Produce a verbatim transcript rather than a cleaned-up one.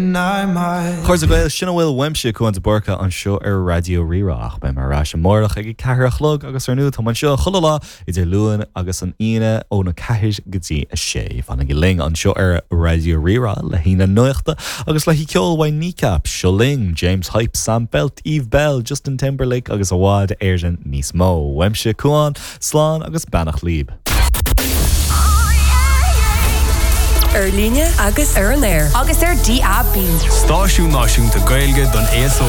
A chairde Gael sin a bhfuil uaimse Cuán de Búrca anseo ar Raidió Rí-Rá ach beidh mé ar ais amárach ag a ceathair a chlog agus ar ndóigh tá anseo chuile lá idir Luan agus an Aoine óna ceathair go dtí a sé. Fanaigí linn anseo ar Raidió Rí-Rá le haghaidh na nuachta agus le ceol ó Kneecap, Seo Linn, James Hype, Sam Feldt, Eve Belle, Justin Timberlake agus i bhfad Éireann níos mó. Uaimse Cuán, slán agus beannacht libh. Ar líne agus ar an aer. Agus ar DAB. Stáisiún Náisiúnta Gaeilge don aos